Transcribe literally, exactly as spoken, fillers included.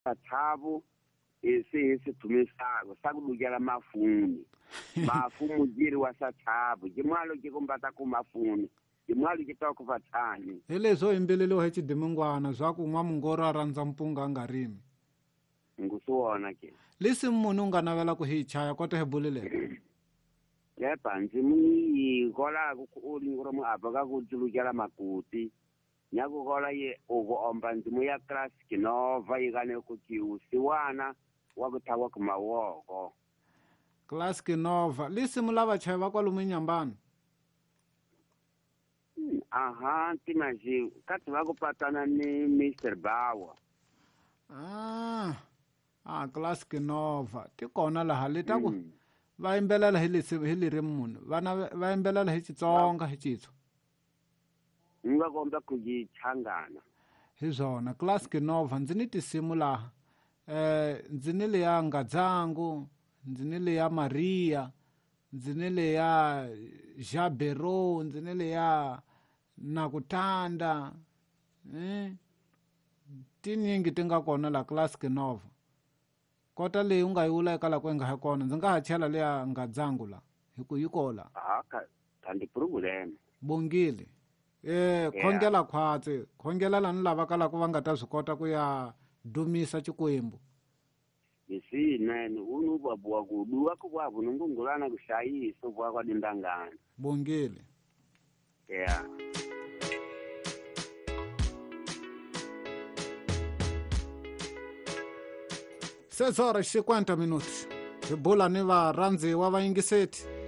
Thabo ese ese tumisako sakulukela mafuni mafu mujiri wa sathabo ke mwalo ke kumbata ku mafuni ke mwalo ke ta ku vathani hi leswo yimbeleliwa hi xidimingwana swa ku n'wamungoro a rhandza mpunga a nga rimi ngusiwona ke lesi munhu u nga navela ku hi chaya kota hi buleleka yepa ndzimu yi kola ku ulingoro mu apa ka ku tulukela makuti nyakukola ye uku omba ndzimu ya classic nova yikane ku kiusiwana wa ku thawa ku mawoko classic nova lisimu lava chaya va kwalomu enyambani aha timaji kati va ku patana ni Mister Bawa ah ah classic nova ti kona laha le ta ku va yimbelela hi lesi hi lirimi munhu vana va yimbelela hi Xitsonga hi Xitswa nga komba ku yi changana hi swona classic nova ndzi ni tinsimu laha eh ndzi ni leya Ngadzangu ndzi ni leya Maria ndzi ni leya Jabero ndzi ni leya Nakutanda eh tinyingi ti nga kona la classic nova kota leyi u nga yi vula eka la ku nga ha kona ndzi nga ha chela leya Ngadzangu la hi ku yi kola ah ka kandi problem bongile eh khongela khwatsi khongela lani lava ka la ku va nga ta swi kota ku ya dumisa Xikwembu isinene unu babuwa kuduwa ku kwavu nungungulana kuhlayiso kwa kwa dindangana bongile yeah seis horas e cinquenta minutos hi bula ni varhandziwa va yingiseti.